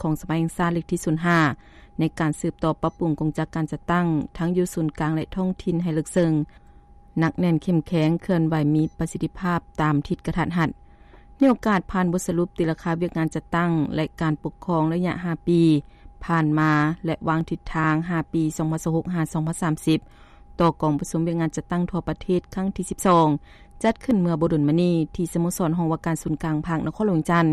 ຂອງສະພາແຫ່ງຊາດເລກທີສູນຫ້າ ໃນການສືບຕໍ່ປັບປຸງກົງຈັກການຈັດຕັ້ງ ທັງຢູ່ສູນກາງ ແລະ ທ້ອງຖິ່ນໃຫ້ເລິກເຊິ່ງ, ໜັກແໜ້ນເຂັ້ມແຂງ, ເຄື່ອນໄຫວມີປະສິດທິພາບຕາມທິດກະທັດຮັດ. ໃນໂອກາດຜ່ານບົດສະຫຼຸບຕີລາຄາວຽກງານຈັດຕັ້ງ ແລະ ການປົກຄອງໄລຍະຫ້າປີຜ່ານມາ ແລະ ວາງທິດທາງຫ້າປີ ສອງພັນຊາວຫົກ ຫາ ສອງພັນສາມສິບ ຕໍ່ກອງປະຊຸມວຽກງານຈັດຕັ້ງທົ່ວປະເທດຄັ້ງທີສິບສອງ ຈັດຂຶ້ນເມື່ອບໍ່ດົນມານີ້ ທີ່ສະໂມສອນຫ້ອງວ່າການສູນກາງພັກນະຄອນຫຼວງວຽງຈັນ.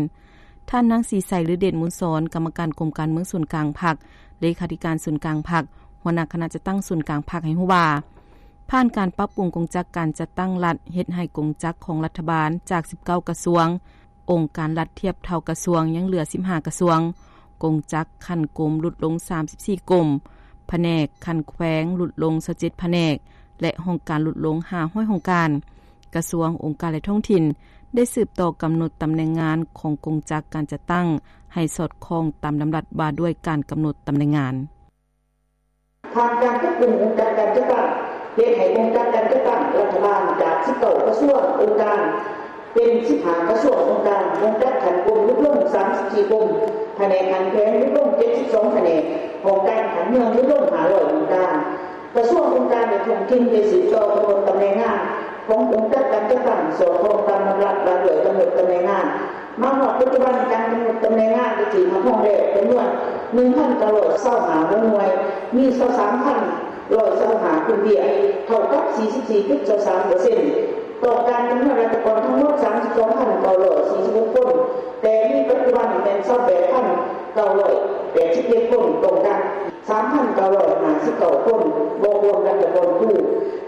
ທ່ານນາງ ສີໄຊ ລືເດດມູນສອນ ກຳມະການກົມການເມືອງສູນກາງພັກ, ເລຂາທິການສູນກາງພັກ, ຫົວໜ້າຄະນະຈັດຕັ້ງສູນກາງພັກ ໃຫ້ຮູ້ວ່າ ຜ່ານການປັບປຸງກົງຈັກການຈັດຕັ້ງລັດ ເຮັດໃຫ້ກົງຈັກຂອງລັດຖະບານຈາກສິບເກົ້າກະຊວງ, ອົງການລັດທຽບເທົ່າກະຊວງຍັງເຫຼືອສິບຫ້າກະຊວງ, ກົງຈັກຂັ້ນກົມຫຼຸດລົງສາມສິບສີ່ກົມ, ພະແນກຂັ້ນແຂວງຫຼຸດລົງຊາວເຈັດພະແນກ ແລະ ຫ້ອງການຫຼຸດລົງຫ້າຮ້ອຍຫ້ອງການ. ກະຊວງ, ອົງການ ແລະ ທ້ອງຖິ່ນ ໄດ້ສືບຕໍ່ກຳນົດຕຳແໜ່ງງານຂອງກົງຈັກການຈັດຕັ້ງ ໃຫ້ສອດຄ່ອງຕາມລຳດັບວ່າດ້ວຍການກຳນົດຕຳແໜ່ງງານ. ຜ່ານການປັບປຸງອົງຈັກການຈັດຕັ້ງ ເຮັດໃຫ້ອົງຈັກການຈັດຕັ້ງລັດຖະບານຈາກສິບເກົ້າກະຊວງ, ອົງການ ເປັນສິບຫ້າກະຊວງ, ອົງການ, ກົງຈັກຂັ້ນກົມຫຼຸດລົງສາມສິບສີ່ກົມ, ພະແນກຂັ້ນແຂວງຫຼຸດລົງເຈັດສິບສອງພະແນກ, ຫ້ອງການຂັ້ນເມືອງຫຼຸດລົງຫ້າຮ້ອຍອົງການ. ກະຊວງ, ອົງການ ແລະ ທ້ອງຖິ່ນໄດ້ສືບຕໍ່ກຳນົດຕຳແໜ່ງງານຂອງອົງຈັກການຈັດຕັ້ງ ສອດຄ່ອງຕາມລຳດັບວ່າດ້ວຍກຳນົດຕຳແໜ່ງງານ. ມາຮອດປັດຈຸບັນ, ການກຳນົດຕຳແໜ່ງງານເປັນທີ່ຮັບຮອງແລ້ວຈຳນວນໜຶ່ງພັນເກົ້າຮ້ອຍຊາວຫ້າຫົວໜ່ວຍ, ມີຊາວສາມພັນຮ້ອຍຊາວຫ້າຄົນວຽກ, ເທົ່າກັບສີ່ສິບສີ່ຈຸດຊາວສາມເປີເຊັນ. ຕໍ່ການຈຳນວນລັດຖະກອນທັງໝົດສາມສິບສອງພັນເກົ້າຮ້ອຍສີ່ສິບຫົກຄົນ, ແຕ່ມີປັດຈຸບັນແມ່ນຊາວແປດພັນເກົ້າຮ້ອຍແປດສິບເຈັດຄົນ, ຕ້ອງການສາມພັນເກົ້າຮ້ອຍຫ້າສິບເກົ້າຄົນ, ບໍ່ຮວມລັດຖະກອນຄູ.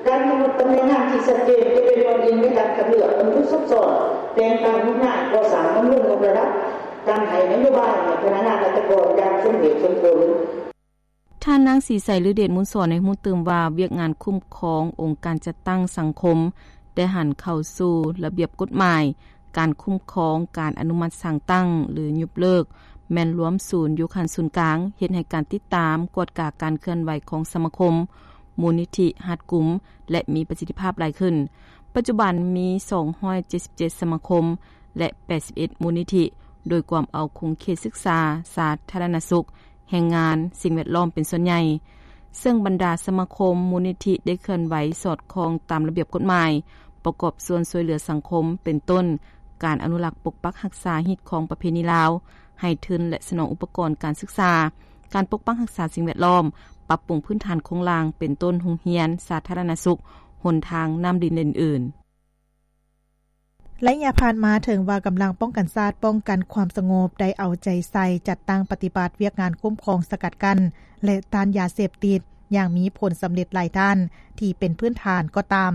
ການກຳນົດຕຳແໜ່ງງານທີ່ຊັດເຈນ ຈະເປັນບ່ອນອີງໃນການຄັດເລືອກ, ບັນຈຸຊັບຊ້ອນ, ແຕ່ງຕັ້ງ, ຍົກຍ້າຍ, ກໍ່ສ້າງ, ບຳລຸງ, ຍົກລະດັບ, ການໃຫ້ນະໂຍບາຍໃຫ້ພະນັກງານລັດຖະກອນຢ່າງສົມເຫດສົມຜົນ. ທ່ານນາງ ສີໄຊ ລືເດດມູນສອນ ໃຫ້ຮູ້ຕື່ມວ່າ ວຽກງານຄຸ້ມຄອງອົງການຈັດຕັ້ງສັງຄົມ ໄດ້ຫັນເຂົ້າສູ່ລະບຽບກົດໝາຍ, ການຄຸ້ມຄອງການອະນຸມັດສ້າງຕັ້ງ ຫຼື ຍຸບເລີກ ແມ່ນລວມສູນຢູ່ຂັ້ນສູນກາງ, ເຮັດໃຫ້ການຕິດຕາມ, ກວດກາການເຄື່ອນໄຫວຂອງສະມາຄົມ, ມູນນິທິ ຮັດກຸມ ແລະ ມີປະສິດທິພາບຫຼາຍຂຶ້ນ. ປັດຈຸບັນມີສອງຮ້ອຍເຈັດສິບເຈັດສະມາຄົມ ແລະ ແປດສິບເອັດມູນນິທິ, ໂດຍກວມເອົາຂົງເຂດສຶກສາສາທາລະນະສຸກ, ແຮງງານ, ສິ່ງແວດລ້ອມເປັນສ່ວນໃຫຍ່, ເຊິ່ງບັນດາສະມາຄົມ, ມູນນິທິໄດ້ເຄື່ອນໄຫວສອດຄ່ອງຕາມລະບຽບກົດໝາຍ, ປະກອບສ່ວນຊ່ວຍເຫຼືອສັງຄົມ ເປັນຕົ້ນ ການອະນຸລັກປົກປັກຮັກສາຮີດຄອງປະເພນີລາວ, ໃຫ້ທຶນ ແລະ ສະໜອງອຸປະກອນການສຶກສາ, ການປົກປັກຮັກສາສິ່ງແວດລ້ອມ, ປັບປຸງພື້ນຖານໂຄງລ່າງ ເປັນຕົ້ນ ໂຮງຮຽນ, ສາທາລະນະສຸກ, ຫົນທາງ, ນ້ຳລິນ ແລະ ອື່ນໆ. ໄລຍະຜ່ານມາ ເຖິງວ່າກຳລັງປ້ອງກັນຊາດ ປ້ອງກັນຄວາມສະຫງົບ ໄດ້ເອົາໃຈໃສ່ຈັດຕັ້ງປະຕິບັດວຽກງານຄຸ້ມຄອງສະກັດກັ້ນ ແລະ ຕ້ານຢາເສບຕິດ ຢ່າງມີຜົນສຳເລັດຫຼາຍດ້ານ ທີ່ເປັນພື້ນຖານກໍຕາມ,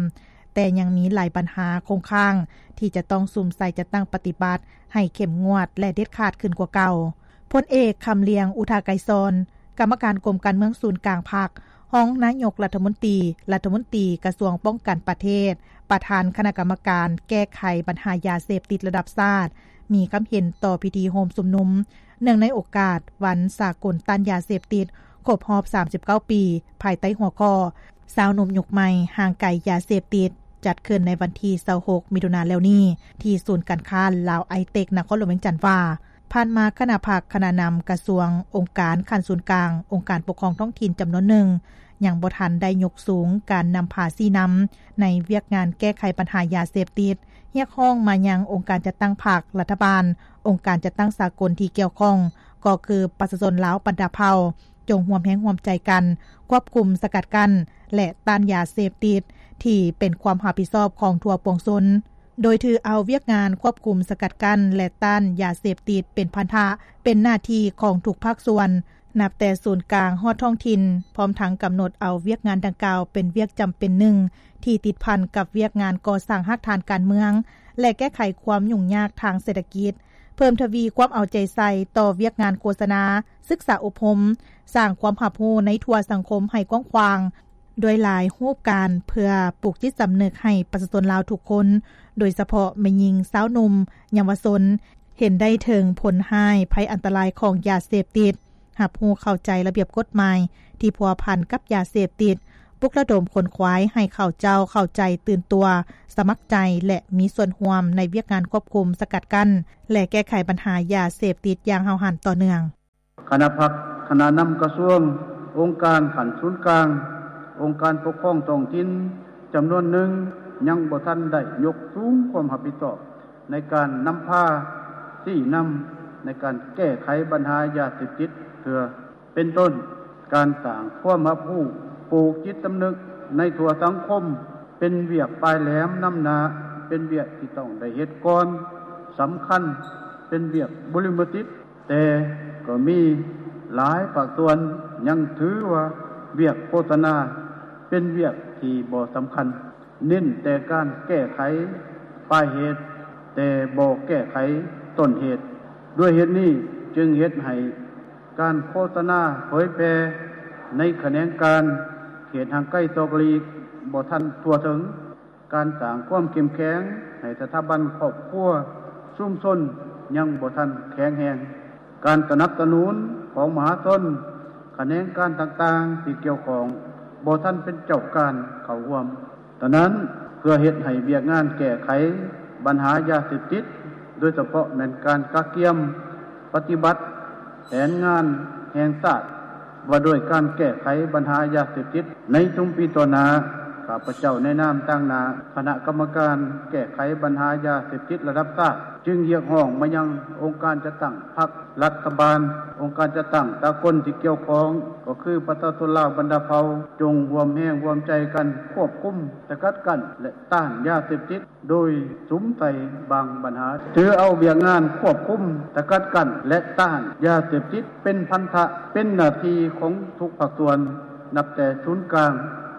ແຕ່ຍັງມີຫຼາຍບັນຫາຄົງຄ້າງ ທີ່ຈະຕ້ອງສຸມໃສ່ຈັດຕັ້ງປະຕິບັດ ໃຫ້ເຂັ້ມງວດ ແລະ ເດັດຂາດຂຶ້ນກວ່າເກົ່າ. ພົນເອກ ຄຳລຽງ ອຸທາໄກສອນ ກຳມະການກົມການເມືອງສູນກາງພັກ, ຮອງນາຍົກລັດຖະມົນຕີ, ລັດຖະມົນຕີກະຊວງປ້ອງກັນປະເທດ, ປະທານຄະນະກຳມະການແກ້ໄຂບັນຫາຢາເສບຕິດລະດັບຊາດ ມີຄຳເຫັນຕໍ່ພິທີໂຮມຊຸມນຸມ ເນື່ອງໃນໂອກາດວັນສາກົນຕ້ານຢາເສບຕິດ ຄົບຮອບສາມສິບເກົ້າປີ ພາຍໃຕ້ຫົວຂໍ້ ຊາວໜຸ່ມຍຸກໃໝ່ ຫ່າງໄກຢາເສບຕິດ ຈັດຂຶ້ນໃນວັນທີຊາວຫົກ ມິຖຸນາແລ້ວນີ້ ທີ່ສູນການຄ້າລາວໄອເຕັກ ນະຄອນຫຼວງວຽງຈັນວ່າ ຜ່ານມາຄະນະພັກ, ຄະນະນຳກະຊວງ, ອົງການຂັ້ນສູນກາງ, ອົງການປົກຄອງທ້ອງຖິ່ນຈຳນວນໜຶ່ງ ຍັງບໍ່ທັນໄດ້ຍົກສູງການນຳພາຊີ້ນຳໃນວຽກງານແກ້ໄຂບັນຫາຢາເສບຕິດ, ຮຽກຮ້ອງມາຍັງອົງການຈັດຕັ້ງພັກ, ລັດຖະບານ, ອົງການຈັດຕັ້ງສາກົນທີ່ກ່ຽວຂ້ອງ ກໍຄືປະຊາຊົນລາວບັນດາເຜົ່າ ຈົ່ງຮ່ວມແຮງຮ່ວມໃຈກັນຄວບຄຸມ, ສະກັດກັ້ນ ແລະ ຕ້ານຢາເສບຕິດ ທີ່ເປັນຄວາມຮັບຜິດຊອບຂອງທົ່ວປວງຊົນ. ໂດຍຖືເອົາວຽກງານຄວບຄຸມ, ສະກັດກັ້ນ ແລະ ຕ້ານຢາເສບຕິດເປັນພັນທະ, ເປັນໜ້າທີ່ຂອງທຸກພາກສ່ວນ, ນັບແຕ່ສູນກາງຮອດທ້ອງຖິ່ນ, ພ້ອມທັງກຳນົດເອົາວຽກງານດັ່ງກ່າວເປັນວຽກຈຳເປັນໜຶ່ງ ທີ່ຕິດພັນກັບວຽກງານກໍ່ສ້າງຮາກຖານການເມືອງ ແລະ ແກ້ໄຂຄວາມຫຍຸ້ງຍາກທາງເສດຖະກິດ, ເພີ່ມທະວີຄວາມເອົາໃຈໃສ່ຕໍ່ວຽກງານໂຄສະນາ, ສຶກສາອົບຮົມ, ສ້າງຄວາມຮັບຮູ້ໃນທົ່ວສັງຄົມໃຫ້ກວ້າງຂວາງ ດ້ວຍຫຼາຍຮູບການ ເພື່ອປູກຈິດສຳນຶກໃຫ້ປະຊາຊົນລາວທຸກຄົນ, ໂດຍສະເພາະແມ່ຍິງ, ຊາວໜຸ່ມ, ເຍົາວະຊົນ ເຫັນໄດ້ເຖິງຜົນຮ້າຍ, ໄພອັນຕະລາຍຂອງຢາເສບຕິດ, ຮັບຮູ້ເຂົ້າໃຈລະບຽບກົດໝາຍທີ່ພົວພັນກັບຢາເສບຕິດ, ປຸກລະດົມຂົນຂວາຍໃຫ້ເຂົາເຈົ້າເຂົ້າໃຈ, ຕື່ນຕົວ, ສະໝັກໃຈ ແລະ ມີສ່ວນຮ່ວມໃນວຽກງານຄວບຄຸມ, ສະກັດກັ້ນ ແລະ ແກ້ໄຂບັນຫາຢາເສບຕິດຢ່າງຫ້າວຫັນຕໍ່ເນື່ອງ. ຄະນະພັກ, ຄະນະນຳກະຊວງ, ອົງການຂັ້ນສູນກາງ, ອົງການປົກຄອງທ້ອງຖິ່ນຈຳນວນໜຶ່ງ ຍັງບໍ່ທັນໄດ້ຍົກສູງຄວາມຮັບຜິດຊອບໃນການນຳພາຊີ້ນຳໃນການແກ້ໄຂບັນຫາຢາເສບຕິດເທື່ອ. ເປັນຕົ້ນ, ການສ້າງຄວາມຮັບຮູ້, ປູກຈິດສຳນຶກໃນທົ່ວສັງຄົມ ເປັນວຽກປາຍແຫຼມນຳໜ້າ, ເປັນວຽກທີ່ຕ້ອງໄດ້ເຮັດກ່ອນ, ສຳຄັນ, ເປັນວຽກບຸລິມະສິດ, ແຕ່ກໍມີຫຼາຍພາກສ່ວນຍັງຖືວ່າວຽກໂຄສະນາເປັນວຽກທີ່ບໍ່ສຳຄັນ, ເນັ້ນແຕ່ການແກ້ໄຂປາຍເຫດ ແຕ່ບໍ່ແກ້ໄຂຕົ້ນເຫດ. ດ້ວຍເຫດນີ້ຈຶ່ງເຮັດໃຫ້ການໂຄສະນາເຜີຍແຜ່ໃນຂະແໜງການເຂດຫ່າງໄກສອກຫຼີກບໍ່ທັນທົ່ວເຖິງ. ການສ້າງຄວາມເຂັ້ມແຂງໃຫ້ສະຖາບັນຄອບຄົວຊຸມຊົນຍັງບໍ່ທັນແຂງແຮງ. ການສະໜັບສະໜູນຂອງມະຫາຊົນ, ຂະແໜງການຕ່າງໆທີ່ກ່ຽວຂ້ອງບໍ່ທັນເປັນເຈົ້າການເຂົ້າຮ່ວມ. ສະນັ້ນ, ເພື່ອເຮັດໃຫ້ວຽກງານແກ້ໄຂບັນຫາຢາເສບຕິດ, ໂດຍສະເພາະແມ່ນການກະກຽມປະຕິບັດແຜນງານແຫ່ງຊາດ ວ່າດ້ວຍການແກ້ໄຂບັນຫາຢາເສບຕິດໃນຊຸມປີຕໍ່ໜ້າ, ຂ້າພະເຈົ້າໃນນາມຕາງໜ້າຄະນະກຳມະການແກ້ໄຂບັນຫາຢາເສບຕິດລະດັບຊາດ ຈຶ່ງຮຽກຮ້ອງມາຍັງອົງການຈັດຕັ້ງພັກ, ລັດຖະບານ, ອົງການຈັດຕັ້ງສາກົນທີ່ກ່ຽວຂ້ອງ, ກໍຄືປະຊາຊົນລາວບັນດາເຜົ່າ, ຈົ່ງຮ່ວມແຮງຮ່ວມໃຈກັນຄວບຄຸມ, ສະກັດກັ້ນ ແລະ ຕ້ານຢາເສບຕິດ ໂດຍສຸມໃສ່ບາງບັນຫາ. ຖືເອົາວຽກງານຄວບຄຸມ, ສະກັດກັ້ນ ແລະ ຕ້ານຢາເສບຕິດເປັນພັນທະ, ເປັນໜ້າທີ່ຂອງທຸກພາກສ່ວນ, ນັບແຕ່ສູນກາງ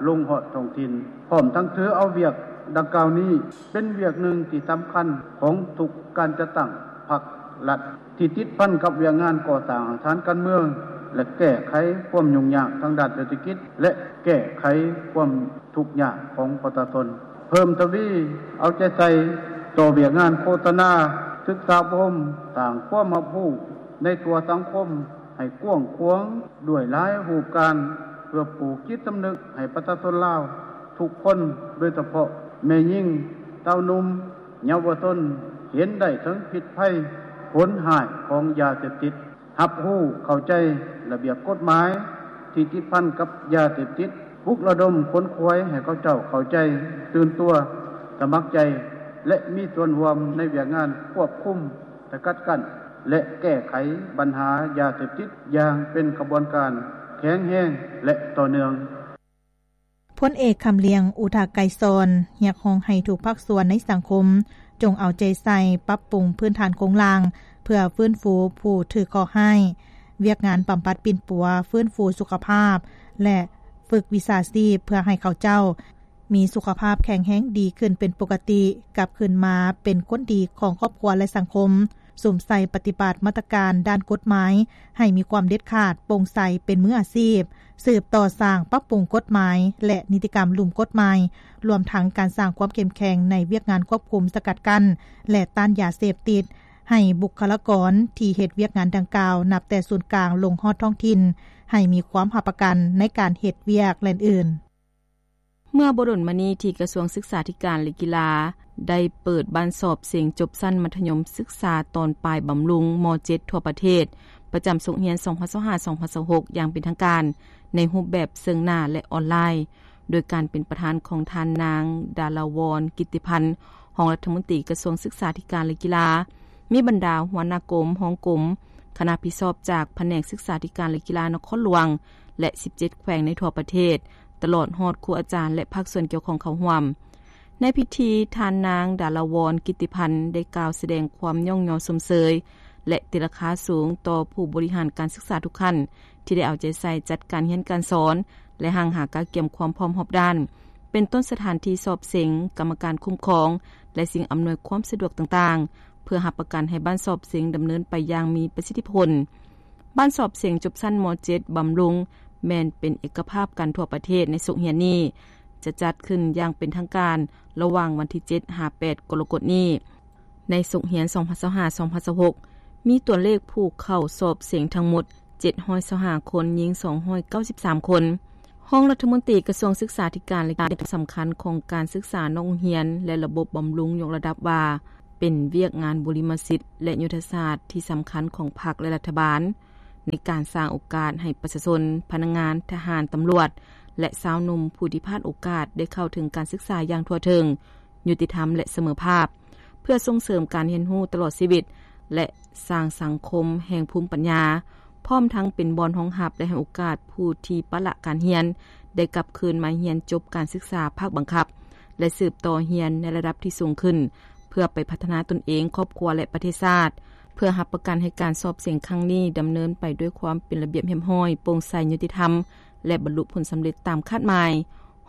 ລົງຮອດທ້ອງຖິ່ນ. ພ້ອມທັງຖືເອົາວຽກດັ່ງກ່າວນີ້ເປັນວຽກໜຶ່ງທີ່ສຳຄັນຂອງທຸກການຈັດຕັ້ງພັກລັດ ທີ່ຕິດພັນກັບວຽກງານກໍ່ສ້າງຖານການເມືອງ ແລະ ແກ້ໄຂຄວາມຫຍຸ້ງຍາກທາງດ້ານເສດຖະກິດ ແລະ ແກ້ໄຂຄວາມທຸກຍາກຂອງປະຊາຊົນ. ເພີ່ມທະວີເອົາໃຈໃສ່ຕໍ່ວຽກງານໂຄສະນາ, ສຶກສາອົບຮົມ, ສ້າງຄວາມຮັບຮູ້ໃນທົ່ວສັງຄົມໃຫ້ກວ້າງຂວາງດ້ວຍຫຼາຍຮູບການ ເພື່ອປູກຈິດສຳນຶກໃຫ້ປະຊາຊົນລາວທຸກຄົນ, ໂດຍສະເພາະແມ່ຍິງ, ຊາວໜຸ່ມ, ເຍົາວະຊົນ ເຫັນໄດ້ເຖິງພິດໄພຜົນຮ້າຍຂອງຢາເສບຕິດ. ຮັບຮູ້ເຂົ້າໃຈລະບຽບກົດໝາຍທີ່ຕິດພັນກັບຢາເສບຕິດ, ປຸກລະດົມຂົນຂວາຍໃຫ້ເຂົາເຈົ້າເຂົ້າໃຈ, ຕື່ນຕົວ, ສະໝັກໃຈ ແລະ ມີສ່ວນຮ່ວມໃນວຽກງານຄວບຄຸມ, ສະກັດກັ້ນ ແລະ ແກ້ໄຂບັນຫາຢາເສບຕິດຢ່າງເປັນຂະບວນການແຂງແຮງ ແລະ ຕໍ່ເນື່ອງ. ພົນເອກ ຄຳລຽງ ອຸທາໄກສອນ ຮຽກຮ້ອງໃຫ້ທຸກພາກສ່ວນໃນສັງຄົມ ຈົ່ງເອົາໃຈໃສ່ປັບປຸງພື້ນຖານໂຄງລ່າງ ເພື່ອຟື້ນຟູຜູ້ຖືກເຄາະຮ້າຍ, ວຽກງານບຳບັດປິ່ນປົວ, ຟື້ນຟູສຸຂະພາບ ແລະ ຝຶກວິຊາຊີບ ເພື່ອໃຫ້ເຂົາເຈົ້າມີສຸຂະພາບແຂງແຮງດີຂຶ້ນເປັນປົກກະຕິ, ກັບຄືນມາເປັນຄົນດີຂອງຄອບຄົວ ແລະ ສັງຄົມ. ສຸມໃສ່ປະຕິບັດມາດຕະການດ້ານກົດໝາຍໃຫ້ມີຄວາມເດັດຂາດ, ໂປ່ງໃສ, ເປັນມືອາຊີບ, ສືບຕໍ່ສ້າງປັບປຸງກົດໝາຍ ແລະ ນິຕິກຳລຸ່ມກົດໝາຍ, ລວມທັງການສ້າງຄວາມເຂັ້ມແຂງໃນວຽກງານຄວບຄຸມ, ສະກັດກັ້ນ ແລະ ຕ້ານຢາເສບຕິດ ໃຫ້ບຸກຄະລາກອນທີ່ເຮັດວຽກງານດັ່ງກ່າວ ນັບແຕ່ສູນກາງລົງຮອດທ້ອງຖິ່ນ ໃຫ້ມີຄວາມຮັບປະກັນໃນການເຮັດວຽກ ແລະ ອື່ນໆ. ເມື່ອບໍ່ດົນມານີ້ ທີ່ກະຊວງສຶກສາທິການ ແລະ ກິລາ ໄດ້ເປີດບັ້ນສອບເສັງຈົບຊັ້ນມັດທະຍົມສຶກສາຕອນປາຍບຳລຸງ ມໍເຈັດ ທົ່ວປະເທດ ປະຈຳສົກຮຽນ ສອງພັນຊາວຫ້າ ສອງພັນຊາວຫົກ ຢ່າງເປັນທາງການ ໃນຮູບແບບເຊິ່ງໜ້າ ແລະ ອອນລາຍ ໂດຍການເປັນປະທານຂອງທ່ານນາງ ດາລາວອນ ກິດຕິພັນ ຮອງລັດຖະມົນຕີກະຊວງສຶກສາທິການ ແລະ ກິລາ, ມີບັນດາຫົວໜ້າກົມ, ຮອງກົມ, ຄະນະຜິດຊອບຈາກພະແນກສຶກສາທິການ ແລະ ກິລານະຄອນຫຼວງ ແລະ ສິບເຈັດແຂວງໃນທົ່ວປະເທດ, ຕະຫຼອດຮອດຄູອາຈານ ແລະ ພາກສ່ວນກ່ຽວຂ້ອງເຂົ້າຮ່ວມ. ໃນພິທີ, ທ່ານນາງ ດາລາວອນ ກິດຕິພັນ ໄດ້ກ່າວສະແດງຄວາມຍ້ອງຍໍຊົມເຊີຍ ແລະ ຕີລາຄາສູງຕໍ່ຜູ້ບໍລິຫານການສຶກສາທຸກຂັ້ນ ທີ່ໄດ້ເອົາໃຈໃສ່ຈັດການຮຽນການສອນ ແລະ ຮັ່ງຫາກະກຽມຄວາມພ້ອມຮອບດ້ານ ເປັນຕົ້ນສະຖານທີ່ສອບເສັງ, ກຳມະການຄຸ້ມຄອງ ແລະ ສິ່ງອຳນວຍຄວາມສະດວກຕ່າງໆ ເພື່ອຮັບປະກັນໃຫ້ບ້ານສອບເສັງດຳເນີນໄປຢ່າງມີປະສິດທິຜົນ. ບ້ານສອບເສັງຈົບຊັ້ນ ມໍເຈັດ ບຳລຸງ ແມ່ນເປັນເອກະພາບກັນທົ່ວປະເທດໃນສົກຮຽນນີ້ ຈະຈັດຂຶ້ນຢ່າງເປັນທາງການລະຫວ່າງວັນທີ ເຈັດ ຫາ ແປດ ກໍລະກົດນີ້. ໃນສົກຮຽນ ສອງພັນຊາວຫ້າ ສອງພັນຊາວຫົກ ມີຕົວເລກຜູ້ເຂົ້າສອບເສັງທັງໝົດ ເຈັດຮ້ອຍຊາວຫ້າຄົນ, ຍິງ ສອງຮ້ອຍເກົ້າສິບສາມຄົນ. ຮອງລັດຖະມົນຕີກະຊວງສຶກສາທິການ ແລະ ກິລາ ສຳຄັນຂອງການສຶກສານອກໂຮງຮຽນ ແລະ ລະບົບບຳລຸງຍົກລະດັບວ່າ ເປັນວຽກງານບຸລິມະສິດ ແລະ ຍຸດທະສາດທີ່ສຳຄັນຂອງພັກ ແລະ ລັດຖະບານ. ໃນການສ້າງໂອກາດໃຫ້ປະຊາຊົນ, ພະນັກງານ, ທະຫານ, ຕຳຫຼວດ ແລະ ຊາວໜຸ່ມຜູ້ທີ່ພາດໂອກາດໄດ້ເຂົ້າເຖິງການສຶກສາຢ່າງທົ່ວເຖິງ, ຍຸຕິທຳ ແລະ ສະເໝີພາບ, ເພື່ອສົ່ງເສີມການຮຽນຮູ້ຕະຫຼອດຊີວິດ ແລະ ສ້າງສັງຄົມແຫ່ງພູມປັນຍາ, ພ້ອມທັງເປັນບ່ອນຮອງຮັບ ແລະ ໃຫ້ໂອກາດຜູ້ທີ່ປະລະການຮຽນ ໄດ້ກັບຄືນມາຮຽນຈົບການສຶກສາພາກບັງຄັບ ແລະ ສືບຕໍ່ຮຽນໃນລະດັບທີ່ສູງຂຶ້ນ ເພື່ອໄປພັດທະນາຕົນເອງ, ຄອບຄົວ ແລະ ປະເທດຊາດ, ເພື່ອຮັບປະກັນໃຫ້ການສອບເສັງຄັ້ງນີ້ດຳເນີນໄປດ້ວຍຄວາມເປັນລະບຽບຮຽບຮ້ອຍ, ໂປ່ງໃສ, ຍຸຕິທຳ ແລະ ບັນລຸຜົນສຳເລັດຕາມຄາດໝາຍ.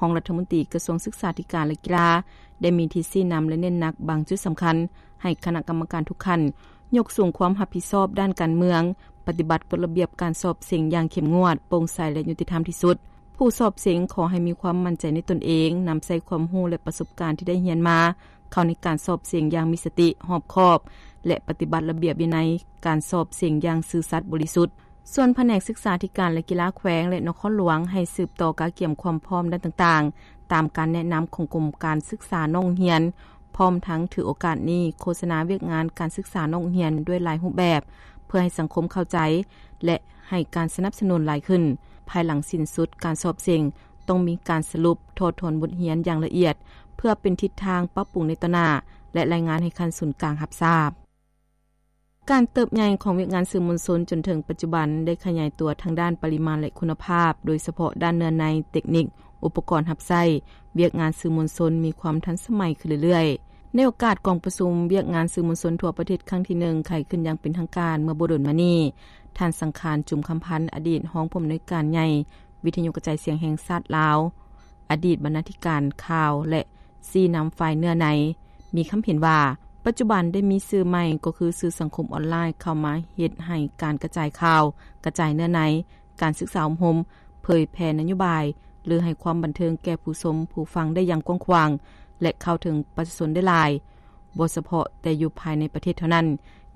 ຮອງລັດຖະມົນຕີກະຊວງສຶກສາທິການ ແລະ ກິລາ ໄດ້ມີທິດຊີ້ນຳ ແລະ ເນັ້ນໜັກບາງຈຸດສຳຄັນ ໃຫ້ຄະນະກຳມະການທຸກຂັ້ນ ຍົກສູງຄວາມຮັບຜິດຊອບດ້ານການເມືອງ, ປະຕິບັດກົດລະບຽບການສອບເສັງຢ່າງເຂັ້ມງວດ, ໂປ່ງໃສ ແລະ ຍຸຕິທຳທີ່ສຸດ. ຜູ້ສອບເສັງຂໍໃຫ້ມີຄວາມໝັ້ນໃຈໃນຕົນເອງ, ນຳໃຊ້ຄວາມຮູ້ ແລະ ປະສົບການທີ່ໄດ້ຮຽນມາ ເຂົ້າໃນການສອບເສັງຢ່າງມີສະຕິ, ຮອບຄອບ ແລະ ປະຕິບັດລະບຽບວິໄນການສອບເສັງຢ່າງຊື່ສັດບໍລິສຸດ. ສ່ວນພະແນກສຶກສາທິການ ແລະ ກິລາແຂວງ ແລະ ນະຄອນຫຼວງ ໃຫ້ສືບຕໍ່ກະກຽມຄວາມພ້ອມດ້ານຕ່າງໆ ຕາມການແນະນຳຂອງກົມການສຶກສານອກໂຮງຮຽນ, ພ້ອມທັງຖືໂອກາດນີ້ໂຄສະນາວຽກງານການສຶກສານອກໂຮງຮຽນດ້ວຍຫຼາຍຮູບແບບ ເພື່ອໃຫ້ສັງຄົມເຂົ້າໃຈ ແລະ ໃຫ້ການສະໜັບສະໜູນຫຼາຍຂຶ້ນ. ພາຍຫຼັງສິ້ນສຸດການສອບເສັງ ຕ້ອງມີການສະຫຼຸບ, ຖອດຖອນບົດຮຽນຢ່າງລະອຽດ ເພື່ອເປັນທິດທາງປັບປຸງໃນຕໍ່ໜ້າ ແລະ ລາຍງານໃຫ້ຂັ້ນສູນກາງຮັບຊາບ. ການເຕີບໃຫຍ່ຂອງວຽກງານສື່ມວນຊົນຈົນເຖິງປັດຈຸບັນ ໄດ້ຂະຫຍາຍຕົວທັງດ້ານປະລິມານ ແລະ ຄຸນນະພາບ, ໂດຍສະເພາະດ້ານເນື້ອໃນ, ເຕັກນິກ, ອຸປະກອນຮັບໃຊ້, ວຽກງານສື່ມວນຊົນມີຄວາມທັນສະໄໝຂຶ້ນເລື້ອຍໆ. ໃນໂອກາດກອງປະຊຸມວຽກງານສື່ມວນຊົນທົ່ວປະເທດຄັ້ງທີໜຶ່ງ ໄຂຂຶ້ນຢ່າງເປັນທາງການເມື່ອບໍ່ດົນມານີ້, ທ່ານ ສັງຂານ ຈຸມຄຳພັນ ອະດີດຮອງຜູ້ອຳນວຍການໃຫຍ່ວິທະຍຸກະຈາຍສຽງແຫ່ງຊາດລາວ, ອະດີດບັນນາທິການຂ່າວ ແລະ ຊີ້ນຳຝ່າຍເນື້ອໃນ ມີຄຳເຫັນວ່າ ປັດຈຸບັນໄດ້ມີສື່ໃໝ່ ກໍຄືສື່ສັງຄົມອອນລາຍເຂົ້າມາເຮັດໃຫ້ການກະຈາຍຂ່າວ, ກະຈາຍເນື້ອໃນ, ການສຶກສາອົບຮົມ, ເຜີຍແຜ່ນະໂຍບາຍ ຫຼື ໃຫ້ຄວາມບັນເທີງແກ່ຜູ້ຊົມຜູ້ຟັງໄດ້ຢ່າງກວ້າງຂວາງ ແລະ ເຂົ້າເຖິງປະຊາຊົນໄດ້ຫຼາຍ, ບໍ່ສະເພາະແຕ່ຢູ່ພາຍໃນປະເທດເທົ່ານັ້ນ,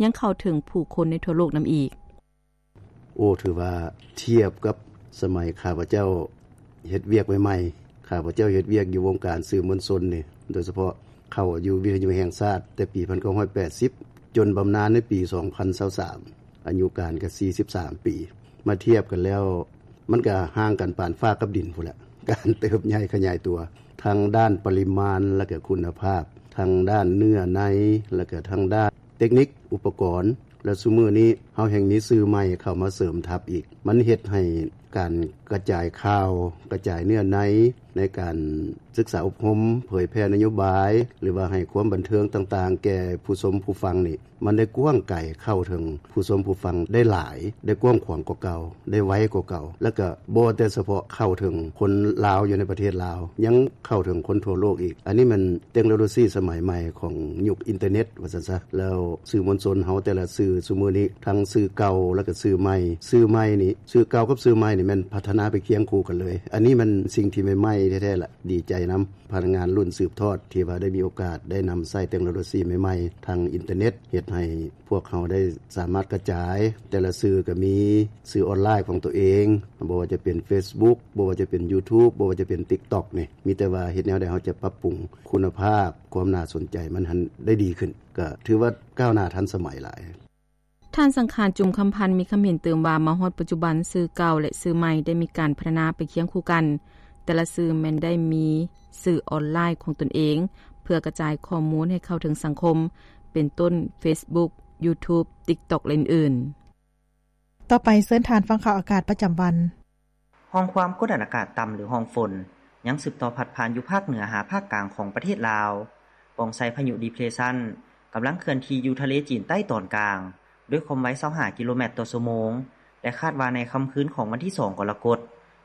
ຍັງເຂົ້າເຖິງຜູ້ຄົນໃນທົ່ວໂລກນຳອີກ. ໂອ້ ຖືວ່າທຽບກັບສະໄໝຂ້າພະເຈົ້າເຮັດວຽກໃໝ່ໆ, ຂ້າພະເຈົ້າເຮັດວຽກຢູ່ວົງການສື່ມວນຊົນນີ້ ໂດຍສະເພາະເຂົ້າຢູ່ວິທະຍຸແຫ່ງຊາດແຕ່ປີພັນເກົ້າຮ້ອຍແປດສິບ ຈົນບຳນານໃນປີສອງພັນຊາວສາມ ອາຍຸການກໍສີ່ສິບສາມປີ. ມາທຽບກັນແລ້ວ ມັນກໍຫ່າງກັນປານຟ້າກັບດິນພຸ້ນແຫຼະ, ການເຕີບໃຫຍ່ຂະຫຍາຍຕົວ ທັງດ້ານປະລິມານ ແລະກໍຄຸນນະພາບ, ທັງດ້ານເນື້ອໃນ ແລະກໍທັງດ້ານເຕັກນິກ ອຸປະກອນ ແລະ ຊຸມື້ນີ້ເຮົາແຮ່ງມີສື່ໃໝ່ເຂົ້າມາເສີມທັບອີກ. ມັນເຮັດໃຫ້ການກະຈາຍຂ່າວ, ກະຈາຍເນື້ອໃນ ໃນການສຶກສາອົບຮົມ, ເຜີຍແຜ່ນະໂຍບາຍ ຫຼືວ່າໃຫ້ຄວາມບັນເທີງຕ່າງໆ ແກ່ຜູ້ຊົມຜູ້ຟັງນີ້ ມັນໄດ້ກວ້າງໄກເຂົ້າເຖິງຜູ້ຊົມຜູ້ຟັງໄດ້ຫຼາຍ, ໄດ້ກວ້າງຂວາງກວ່າເກົ່າ, ໄດ້ໄວກວ່າເກົ່າ, ແລ້ວກໍບໍ່ແຕ່ສະເພາະເຂົ້າເຖິງຄົນລາວຢູ່ໃນປະເທດລາວ, ຍັງເຂົ້າເຖິງຄົນທົ່ວໂລກອີກ. ອັນນີ້ແມ່ນເຕັກໂນໂລຊີສະໄໝໃໝ່ຂອງຍຸກອິນເຕີເນັດວ່າຊັ້ນຊະ. ແລ້ວສື່ມວນຊົນເຮົາແຕ່ລະສື່ຊຸມື້ນີ້ ທັງສື່ເກົ່າ ແລ້ວກໍສື່ໃໝ່, ສື່ໃໝ່ນີ້ ສື່ເກົ່າກັບສື່ໃໝ່ນີ້ແມ່ນພັດທະນາໄປຄຽງຄູ່ກັນເລີຍ. ອັນນີ້ແມ່ນສິ່ງທີ່ໃໝ່ໆແທ້ໆລະ, ດີໃຈນຳ ພະນັກງານລຸ້ນສືບທອດທີ່ວ່າໄດ້ມີໂອກາດໄດ້ນຳໃຊ້ເຕັກໂນໂລຊີໃໝ່ໆ ທາງອິນເຕີເນັດ ເຮັດໃຫ້ພວກເຮົາໄດ້ສາມາດກະຈາຍ ແຕ່ລະສື່ກໍມີສື່ອອນລາຍຂອງຕົວເອງ, ບໍ່ວ່າຈະເປັນເຟສບຸກ, ບໍ່ວ່າຈະເປັນຢູທູບ, ບໍ່ວ່າຈະເປັນຕິກຕັອກນີ້, ມີແຕ່ວ່າເຮັດແນວໃດເຮົາຈະປັບປຸງຄຸນນະພາບ, ຄວາມໜ້າສົນໃຈມັນຫັ້ນໄດ້ດີຂຶ້ນ, ກໍຖືວ່າກ້າວໜ້າທັນສະໄໝຫຼາຍ. ທ່ານ ສັງຂານ ຈຸມຄຳພັນ ມີຄຳເຫັນຕື່ມວ່າ ມາຮອດປັດຈຸບັນ ສື່ເກົ່າ ແລະ ສື່ໃໝ່ໄດ້ມີການພັດທະນາໄປຄຽງຄູ່ກັນ, ແຕ່ລະສື່ແມ່ນໄດ້ມີສື່ອອນລາຍຂອງຕົນເອງ ເພື່ອກະຈາຍຂໍ້ມູນໃຫ້ເຂົ້າເຖິງສັງຄົມ ເປັນຕົ້ນ ເຟສບຸກ, ຢູທູບ, ຕິກຕັອກ ແລະ ອື່ນໆ. ຕໍ່ໄປເຊີນທ່ານຟັງຂ່າວອາກາດປະຈຳວັນ. ຮ່ອງຄວາມກົດອາກາດຕ່ຳ ຫຼື ຮ່ອງຝົນ ຍັງສືບຕໍ່ພັດຜ່ານຢູ່ພາກເໜືອຫາພາກກາງຂອງປະເທດລາວ. ປ່ອງໃສ່ພາຍຸດີເພຣຊັນ ກຳລັງເຄື່ອນທີ່ຢູ່ທະເລຈີນໃຕ້ຕອນກາງ ດ້ວຍຄວາມໄວຊາວຫ້າກິໂລແມັດຕໍ່ຊົ່ວໂມງ ແລະ ຄາດວ່າໃນຄ່ຳຄືນຂອງວັນທີສອງກໍລະກົດ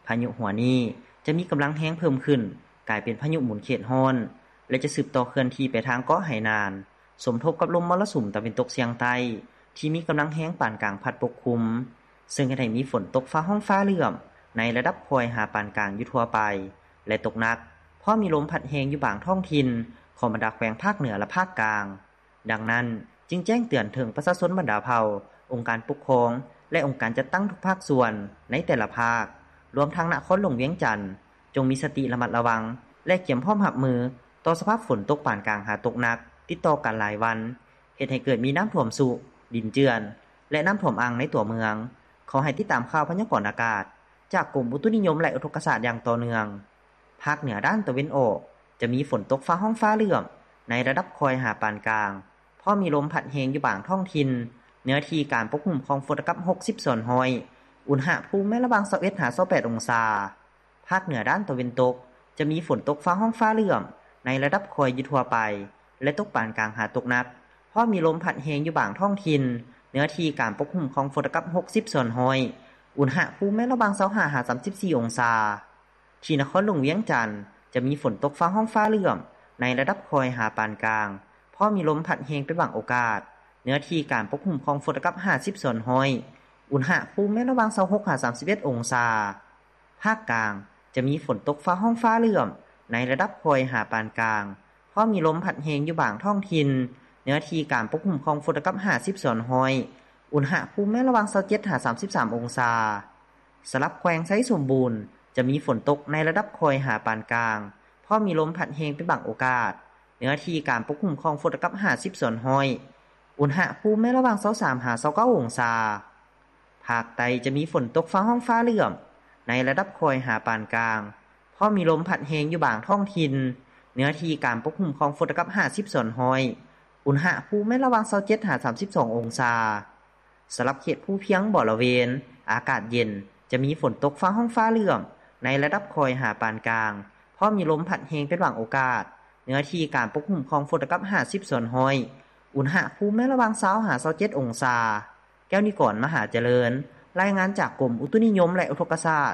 ພາຍຸຫົວນີ້ຈະມີກຳລັງແຮງເພີ່ມຂຶ້ນ ກາຍເປັນພາຍຸໝູນເຂດຮ້ອນ ແລະ ຈະສືບຕໍ່ເຄື່ອນທີ່ໄປທາງເກາະໄຫໜານ ສົມທົບກັບລົມມໍລະສຸມຕາເວັນຕົກສຽງໃຕ້ ທີ່ມີກຳລັງແຮງປານກາງພັດປົກຄຸມ, ເຊິ່ງເຮັດໃຫ້ມີຝົນຕົກຟ້າຮ້ອງຟ້າເຫຼື້ອມໃນລະດັບຄ່ອຍຫາປານກາງຢູ່ທົ່ວໄປ ແລະ ຕົກໜັກ, ພ້ອມມີລົມພັດແຮງຢູ່ບາງທ້ອງຖິ່ນຂອງບັນດາແຂວງພາກເໜືອ ແລະ ພາກກາງ. ດັ່ງນັ້ນ, ຈຶ່ງແຈ້ງເຕືອນເຖິງປະຊາຊົນບັນດາເຜົ່າ, ອົງການປົກຄອງ ແລະ ອົງການຈັດຕັ້ງທຸກພາກສ່ວນໃນແຕ່ລະພາກ, ລວມທັງນະຄອນຫຼວງວຽງຈັນ, ຈົ່ງມີສະຕິລະມັດລະວັງ ແລະ ກຽມພ້ອມຮັບມືຕໍ່ສະພາບຝົນຕົກປານກາງຫາຕົກໜັກ ຕິດຕໍ່ກັນຫຼາຍວັນ, ເຮັດໃຫ້ເກີດມີນ້ຳຖ້ວມຊຸ, ດິນເຈື່ອນ ແລະ ນ້ຳຖ້ວມອ່າງໃນຕົວເມືອງ, ຂໍໃຫ້ຕິດຕາມຂ່າວພະຍາກອນອາກາດ ຈາກກົມອຸຕຸນິຍົມ ແລະ ອຸທົກກະສາດຢ່າງຕໍ່ເນື່ອງ. ພາກເໜືອດ້ານຕາເວັນອອກ ຈະມີຝົນຕົກຟ້າຮ້ອງຟ້າເຫຼື້ອມ ໃນລະດັບຄ່ອຍຫາປານກາງ, ພ້ອມມີລົມພັດແຮງຢູ່ບາງທ້ອງຖິ່ນ, ເນື້ອທີ່ການປົກຄຸມຂອງຝົນລະດັບຫົກສິບສ່ວນຮ້ອຍ, ອຸນຫະພູມແມ່ນລະຫວ່າງຊາວເອັດຫາຊາວແປດອົງສາ. ພາກເໜືອດ້ານຕາເວັນຕົກ ຈະມີຝົນຕົກຟ້າຮ້ອງຟ້າເຫຼື້ອມ ໃນລະດັບຄ່ອຍຢູ່ທົ່ວໄປ ແລະ ຕົກປານກາງຫາຕົກໜັກ, ພ້ອມມີລົມພັດແຮງຢູ່ບາງທ້ອງຖິ່ນ, ເນື້ອທີ່ການປົກຄຸມຂອງຝົນລະດັບຫົກສິບສ່ວນຮ້ອຍ, ອຸນຫະພູມແມ່ນລະຫວ່າງຊາວຫ້າຫາສາມສິບສີ່ອົງສາ. ທີ່ນະຄອນຫຼວງວຽງຈັນ ຈະມີຝົນຕົກຟ້າຮ້ອງຟ້າເຫຼື້ອມ ໃນລະດັບຄ່ອຍຫາປານກາງ, ພ້ອມມີລົມພັດແຮງເປັນບາງໂອກາດ, ເນື້ອທີ່ການປົກຄຸມຂອງຝົນລະດັບຫ້າສິບສ່ວນຮ້ອຍ, ອຸນຫະພູມແມ່ນລະຫວ່າງຊາວຫົກຫາສາມສິບເອັດອົງສາ. ພາກກາງ ຈະມີຝົນຕົກຟ້າຮ້ອງຟ້າເຫຼື້ອມ ໃນລະດັບຄ່ອຍຫາປານກາງ, ພ້ອມມີລົມພັດແຮງຢູ່ບາງທ້ອງຖິ່ນ, ເນື້ອທີ່ການປົກຄຸມຂອງຝົນລະດັບຫ້າສິບສ່ວນຮ້ອຍ, ອຸນຫະພູມແມ່ນລະຫວ່າງຊາວເຈັດຫາສາມສິບສາມອົງສາ. ສຳລັບແຂວງໄຊສົມບູນ ຈະມີຝົນຕົກໃນລະດັບຄ່ອຍຫາປານກາງ, ພ້ອມມີລົມພັດແຮງເປັນບາງໂອກາດ, ເນື້ອທີ່ການປົກຄຸມຂອງຝົນລະດັບຫ້າສິບສ່ວນຮ້ອຍ, ອຸນຫະພູມແມ່ນລະຫວ່າງຊາວສາມຫາຊາວເກົ້າອົງສາ. ພາກໃຕ້ຈະມີຝົນຕົກຟ້າຮ້ອງຟ້າເຫຼື້ອມ ໃນລະດັບຄ່ອຍຫາປານກາງ, ພ້ອມມີລົມພັດແຮງຢູ່ບາງທ້ອງຖິ່ນ, ເນື້ອທີ່ການປົກຄຸມຂອງຝົນລະດັບຫ້າສິບສ່ວນຮ້ອຍ, ອຸນຫະພູມແມ່ນລະຫວ່າງຊາວເຈັດຫາສາມສິບສອງອົງສາ. ສຳລັບເຂດພູພຽງບໍລະເວນ ອາກາດເຢັນ, ຈະມີຝົນຕົກຟ້າຮ້ອງຟ້າເຫຼື້ອມ ໃນລະດັບຄ່ອຍຫາປານກາງ, ພ້ອມມີລົມພັດແຮງເປັນບາງໂອກາດ, ເນື້ອທີ່ການປົກຄຸມຂອງຝົນລະດັບຫ້າສິບສ່ວນຮ້ອຍ, ອຸນຫະພູມແມ່ນລະຫວ່າງຊາວຫາຊາວເຈັດອົງສາ. ແກ້ວນິກອນ ມະຫາຈະເລີນ, ລາຍງານຈາກກົມອຸຕຸນິຍົມ ແລະ ອຸທົກກະສາດ.